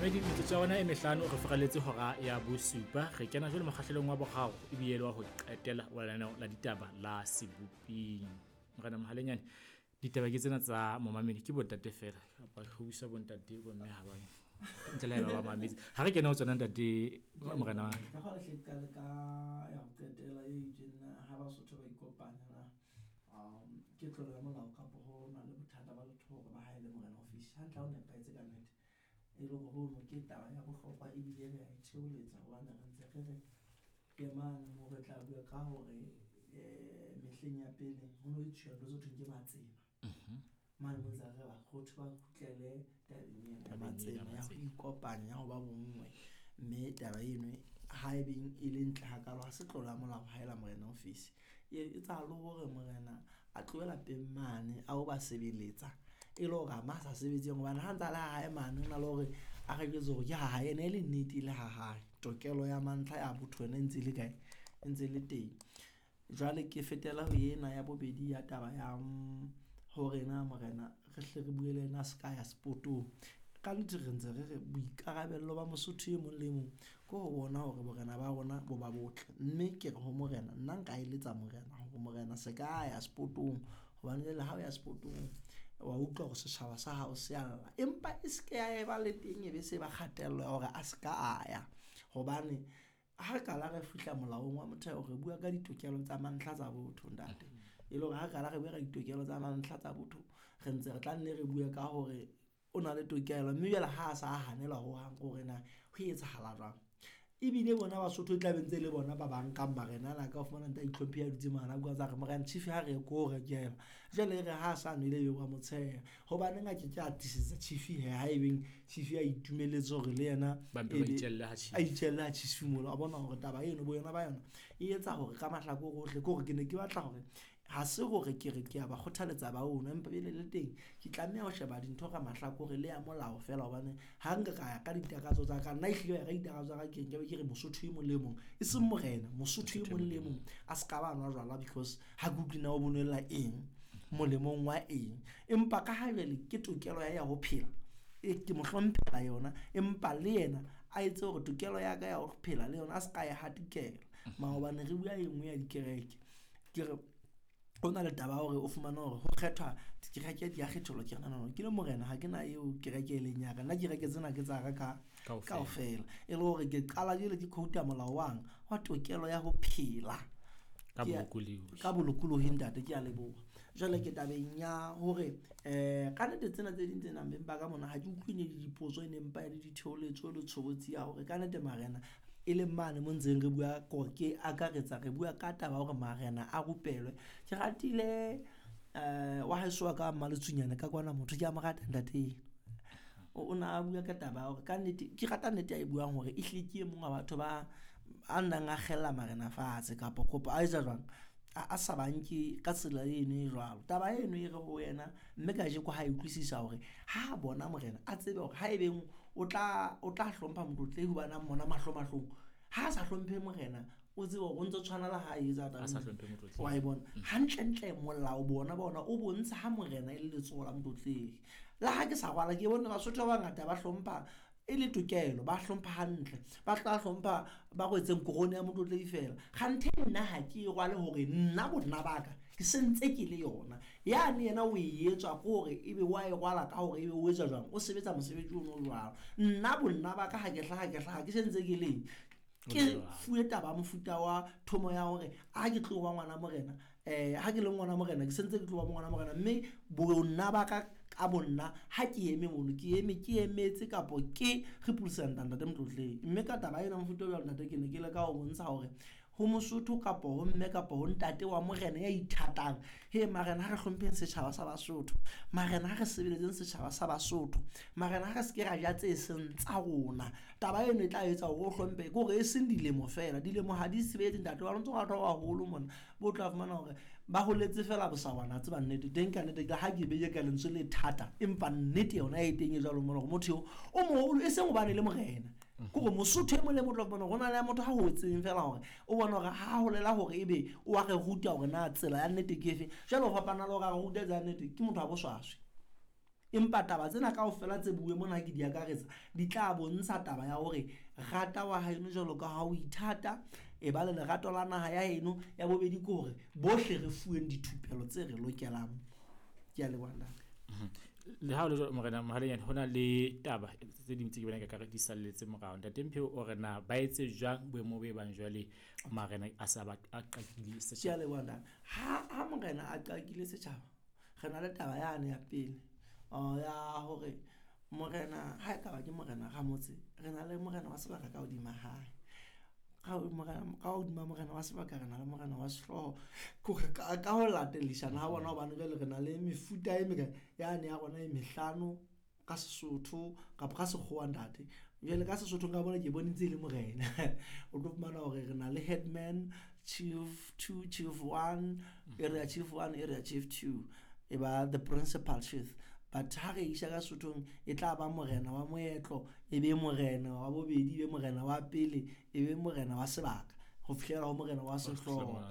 Mamedi, metsotso ya rona e mehlano re furaletse hora ya bosupa. Re kena jwale mokgahlelong wa boraro ebile le wa ho qetela wa lenaneo la ditaba la Seboping. Morena Mohalenyane, ditaba ke tsena tsa momamedi ke bontate feela kapa re busa bontate bomme ha ba ntle le haeba ba mametse. Ha re kena ho tsona ntate morena wa Ka kgona hle ke qale ka ya ho qetela e itseng na ha Basotho ba ikopanya na ke tlolo ya molao kapo ho na le bothata ba letho hore ba haele morena office. Hantle ha o nepahetse ka nnete. E le hore hono ke taba ya bohlokwa ebile re a e theoletsa hobane re ntse re re ke mane moo re tla bua ka hore mehleng ya pele ho no etsuwa ntho tse thweng ke matsema. Mane mo ntse re bakgothu ba kgutlele tabeng ena ya matsema ya ho ikopanya ya ho ba bonngwe. Mme taba eno ha e beng e le ntle hakalo ha se tlolo ya molao haela morena office. E etsahala hore morena a tlohe lapeng mane a o ba sebeletsa e le hore ama a sa sebetseng hobane ha ntse a le ha hae mane ho na le hore a re jwetse hore ke ha hae ene e le nnete e le ha hae. Tokelo ya mantlha ya botho yona e ntse e le kae? E ntse e le teng. Jwale ke fetela ho ena ya bobedi ya taba ya hore na morena re hle re bue le yena a se ka ya sepotong. Ka nnete re ntse re re boikarabello ba Mosotho e mong le mong ke ho bona hore borena ba rona bo ba botle. Mme ke re ho morena, nna nka eletsa morena hore morena se ka ya sepotong hobane jwale ha o ya sepotong wa utlwa hore setjhaba sa hao se a lla. Empa e se ke ya eba le teng e be se ba kgatello ya hore a se ka a ya. Hobane ha re qala re fihla molaong wa motheo re bua ka ditokelo tsa mantlha tsa botho ntate. E le hore ha re qala re bua ka ditokelo tsa mantlha tsa botho, re ntse re tla nne re bue ka hore o na le tokelo mme jwale ha a sa hanelwa hohang hore na ho etsahala jwang. Ebile bona Basotho e tla be ntse le bona ba bang kang marena ana ka o fumana ntate a itlhomphe a dutse mane a bua tsa re morena chief ha re ye ko rekela. Jwale e re ha a sa nwele ebe wa mo tsheha. Hobaneng a ke ke a tiisetsa chief he ha ebeng chief a itumeletse hore le yena Ba mpe ba itjelle ha chief. a itjelle ha chief mono. A bona hore taba eno bo yona ba yona e etsa hore ka mahlakore ohle ke hore ke ne ke batla hore ha se hore ke re ke a ba kgothaletsa ba ono empa pele le teng ke tlameha ho sheba dintho ka mahlakore le ya molao fela hobane ha nka ka ya ka ditakatso tsa ka nna ehlile ya ka ditakatso tsa ka ke nka be ke re Mosotho e mong le mong e seng morena Mosotho e mong le mong a se ka ba nwa jwala because ha ke utlwe na o bonwella eng molemong wa eng empa ka ha jwale ke tokelo ya ho phela e ke mo hlomphela yona empa le yena a etse hore tokelo ya ka ya ho phela le yona a se ka ya hatikela. Maobane re bua e nngwe ya dikereke ke re o na le taba ya hore o fumane hore ho kgethwa dikereke di a kgetholwa. Ke re no, ke le morena ha ke na eo kereke e leng ya ka nna kereke tsena ke tsa ka kaofela. E le hore ke qala jwale ke quote-a molao wang wa tokelo ya ho phela ka bolokolohi. Ka bolokolohi ntate ke a leboha. Jwale ke tabeng ya hore ka nnete tsena tse ding tse nang beng ba ka mona ha ke utlwe ne le dipotso e ne mpa e le ditheoletso le tshobotsi ya hore ka nnete marena e leng mane mo ntseng re bua ko ke akaretsa re bua ka taba hore marena a rupelwe. Ke ratile wa heso wa ka Mmaletsunyane ka kwana motho ke a mo rata ntate. O na a bua ka taba ya hore ka nnete ke rata nnete a e buang hore ehlile ke e mong wa batho ba a nnang a kgella marena fatshe kapa kopo a etsa jwang a sa banke ka tsela eno e jwalo. Taba eno e re ho yena mme kajeko ha e utlwisisa hore ha bona morena a tsebe hore ha ebeng o tla hlompha motlotlehi hobane a mmona mahlo mahlong ha a sa hlomphe morena o tsebe hore o ntse tshwana le ha etsa taba A sa hlomphe motlotlehi. Wa e bona hantlentle molao bona bona o bontsha ha morena e le letsoho la motlotlehi. Le ha ke sa rwala ke bone Basotho ba bangata ba hlompha e le tokelo ba hlompha hantle ba tla hlompha ba rwetseng korone ya motlotlehi fela. Kganthe nna ha ke e rwale hore nna bonna ba ka ke sentse ke le yona. Yane yena o e etswa ke hore ebe wa e rwala ka hore ebe o etsa jwang o sebetsa mosebetsi ono jwalo. Nna bonna ba ka ha ke hlaha ke sentse ke leng ke fuwe taba mofuta wa thomo ya hore ha ke tlo ba ngwana morena ha ke le ngwana morena ke sentse ke tlo ba ngwana morena mme bonna ba ka ka bonna ha ke eme mono ke eme ke emetse kapo ke represent ntate motlotlehi. Mme ka taba ena mofuta o jwalo ntate ke ne ke leka ho bontsha hore ho Mosotho kapo ho mme kapo ho ntate wa morena ya ithatang he marena ha re hlompheng setjhaba sa Basotho marena ha re sebeletseng setjhaba sa Basotho marena ha re se ke ra ja tse seng tsa rona. Taba eno e tla etsa hore o hlomphe ke hore e seng dilemo fela dilemo ha di sebetse ntate wa ntse batho ba baholo mona bo tla fumana hore ba holetse fela bosawana tseba nnete teng ka nnete ha ke beye ka lentswe le thata empa nnete yona e teng e jwalo mona hore motho eo o moholo e seng hobane le morena ke hore Mosotho e mong le motho wa fumana hore ho na le motho ha hotseng fela hore o bona hore ha holela hore ebe o a re ruta hore na tsela ya nnete ke efe. Jwale ho fapana le hore a re ruta tsela ya nnete ke motho wa boswaswi. Empa taba tsena kaofela tse bue mona ke di akaretsa, di tla bontsha taba ya hore rata wa haeno jwalo ka ha o ithata, e ba le lerato la naha ya heno. Ya bobedi ke hore bohle re fuweng dithupelo tse re lokelang. Ke a leboha ntate. Le ha o le jwalo, Morena Mohalenyane, ho na le taba tse ding tse ke bonang ekare di salletse morao. Ntate Mpheo o re na ba etse jwang boemo bo e bang jwale marena a sa ba a qakile Ke a setjhaba? leboha ntate. Ha morena a qakile setjhaba, re na le taba yane ya pele ya hore morena ha ekaba ke morena ramotse, re na le morena wa sebaka ka hodima hae. Ka hodima morena wa sebaka re na le morena wa sehlooho. Ke hore ka ho latellisana ha bona, hobane jwale re na le mefuta e mekae yane ya rona e mehlano ka Sesotho kapa ka sekgowa ntate. Jwale ka Sesotho nka bona ke bone ntse e le morena. O tlo fumana hore re na le headman, chief two, chief one, area chief one, area chief two, e ba the principal chief. But ha re isa ka Sesothong e tla ba morena wa moetlo, e be morena wa bobedi, e be morena wa pele, e be morena wa sebaka, ho fihlela ho morena wa sehlooho.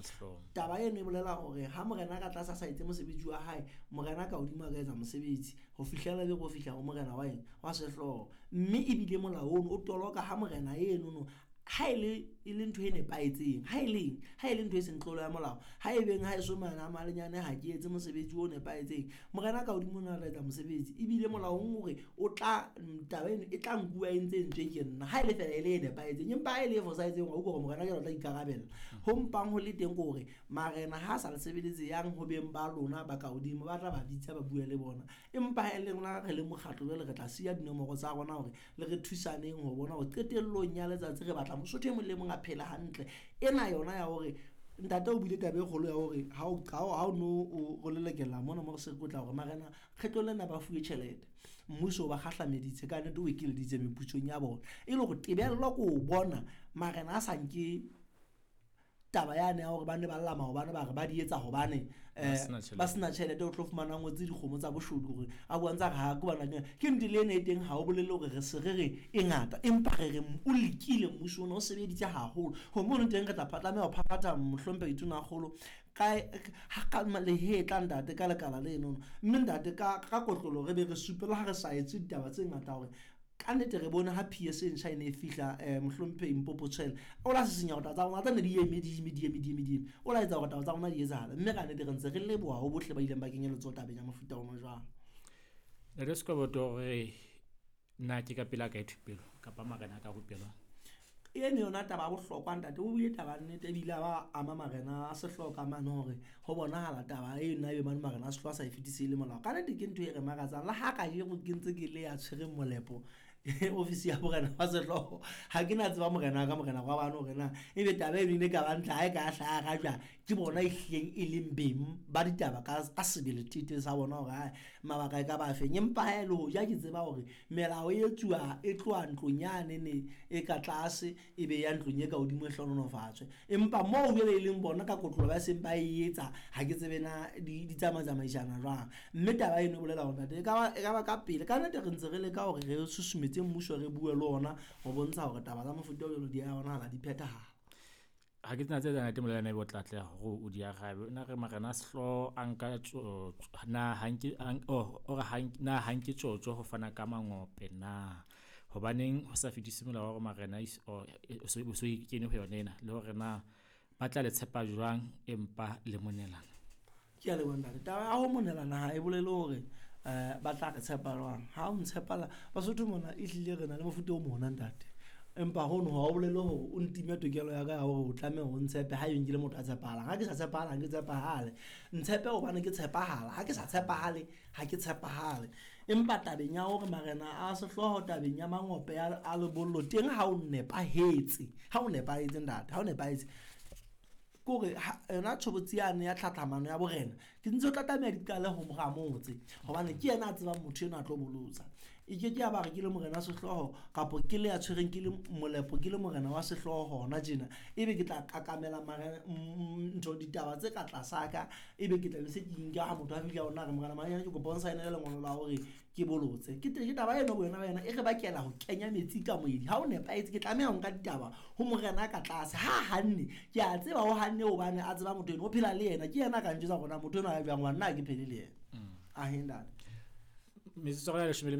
Taba eno e bolela hore ha morena ka tlase a sa etse mosebetsi wa hae, morena ka hodimo a ka etsa mosebetsi ho fihlela be go fihla ho morena wa eng, wa sehlooho. Mme ebile molao ono o toloka ha morena enono ha e le ntho e nepahetseng, ha e leng, ha e le ntho e seng tlolo ya molao, ha e beng ha e so mana malenyane ha ke etse mosebetsi o nepahetseng, morena ka hodimo ona tla etsa mosebetsi. Ebile molaong hore o tla taba eno e tla nkuwa e ntse entswe ke nna, ha e le fela e le e nepahetseng, empa ha e le e fosahetseng wa utlwa hore morena ke tla ikarabella. Ho mpang ho le teng ke hore marena ha sa le sebeletse yang ho beng ba lona ba ka hodimo, ba tla ba bitsa ba bue le bona. Empa ha e le rona re le mokgatlo jwale re tla siya dinomoro tsa rona hore le re thusaneng ho bona hore qetellong ya letsatsi re batla Mosotho e mong le mong a phele hantle. Ena yona ya hore ntate o buile taba e kgolo ya hore ha o no o lelekela mona mo re se re tla hore marena kgetlong lena ba fuwe tjhelete, mmuso o ba kgahlameditse ka nnete, o ekeleditse meputsong ya bona, e le hore tebello ke ho bona marena a sa nke taba yane ya hore ba ne ba lla maobane ba re ba di etsa hobane ba sena tjhelete. O tlo fumana ngotse dikgomo tsa boshodu hore a bua ntse a re ha ke bana ke nnete le ena e teng, ha o bolele hore re se re re e ngata, empa re re o lekile mmuso ona o sebeditse haholo. Ho mono teng re tla tlameha ho phaphatha mohlomphehi Tonakgolo ka lehetla ntate ka lekala leno, mme ntate ka kotlolo re be re supe le ha re sa etse ditaba tse ngata hore ka nnete re bone ha PS e ntjha e ne e fihla mohlomphehi Mpopo Tshwele o la sisinya hore taba tsa rona tsa ne di eme di eme di eme di eme di eme, o la etsa hore taba tsa rona di etsahale. Mme ka nnete re ntse re leboha ho bohle ba ileng ba kenya letsoho tabeng ya mofuta ona jwalo. Ntate Sekoboto, hore na ke ka pela kae thupelo kapa marena a ka rupelwa? Eno yona taba ya bohlokwa ntate, o buile taba nnete ebile a ba ama marena a sehlooho ka mane hore ho bonahala taba eno ebe mane marena a sehlooho a sa e fetise le molao. Ka nnete ke ntho e re makatsang le ha kajeno ke ntse ke le ya tshwereng molepo ofisi ya morena wa sehlooho, ha ke na tseba morena ka morena wa bana hore na ebe taba eno e ne ka ba ntle ha e ka hlaha rajwa ke bona e hlileng e leng beng ba ditaba ka sebele tete sa bona hore ha mabaka e ka ba feng. Empa ha e le hoja ke tseba hore melao e etsuwa e tloha ntlong yane ne e ka tlase e be ya ntlong e ka hodimo e hlohonolofatswe, empa moo jwale e leng bona ka kotlolo ba seng ba e etsa, ha ke tsebe na di tsamaitsamaisana jwang. Mme taba eno e bolela hore ntate e ka ba ka pele ka nnete re ntse re leka hore re susumetse mmuso re bue le ona ho bontsha hore taba tsa mofuta o jwalo di a bonahala di phethahala. Ha ke tsena tse tsa ntate Molelane ebe o tla atleha hore o di arabe. Na re marena a sehlooho a nka na ha nke o re na ha nke tjotjo ho fana ka mangope na? Hobaneng ho sa fetise molao wa hore marena o so kene ho yona ena, le hore na ba tla le tshepa jwang empa le monelana? Ke a leboha ntate. Taba ya ho monelana ha e bolele hore ba tla re tshepa jwang. Ha o ntshepala Basotho mona ehlile re na le mofuta o mona ntate, empa hono ha o bolele hore o ntime tokelo ya ka ya hore o tlameha hore o ntshepe ha ebe ke le motho a tshepahalang. Ha ke sa tshepahala, ha ke tshepahale. Ntshepe hobane ke tshepahala, ha ke sa tshepahale, ha ke tshepahale. Empa tabeng ya hore marena a sehlooho tabeng ya mangope a lebollo teng ha o nepahetse, ha o nepahetse ntate, ha o nepahetse kore yona tshobotsi yane ya tlhatlhamano ya borena ke ntse o tla tlameha di qale ho moramotse, hobane ke yena a tsebang motho enwa a tlo bolotsa. E ke ke ya ba re ke le morena wa sehlooho kapa ke le ya tshwereng ke le molepo ke le morena wa sehlooho hona tjena, ebe ke tla kakamela ntho ditaba tse ka tlasa ka, ebe ke tla be se ke nka ha motho a fihla hona re morena Manyane ke kopa o nsaenele lengolo la hore ke bolotse. Ke taba eno bo yona ba yona e re bakela ho kenya metsi ka moedi. Ha o nepahetse ke tlameha ho nka ditaba ho morena ka tlase. Ha hanne ke a tseba ho hanne hobane a tseba motho eno o phela le yena, ke yena a ka njwetsa hore na motho enwa a jwang, hobane nna ha ke phele le yena. Ahe ntate. Metsotso ya leshome le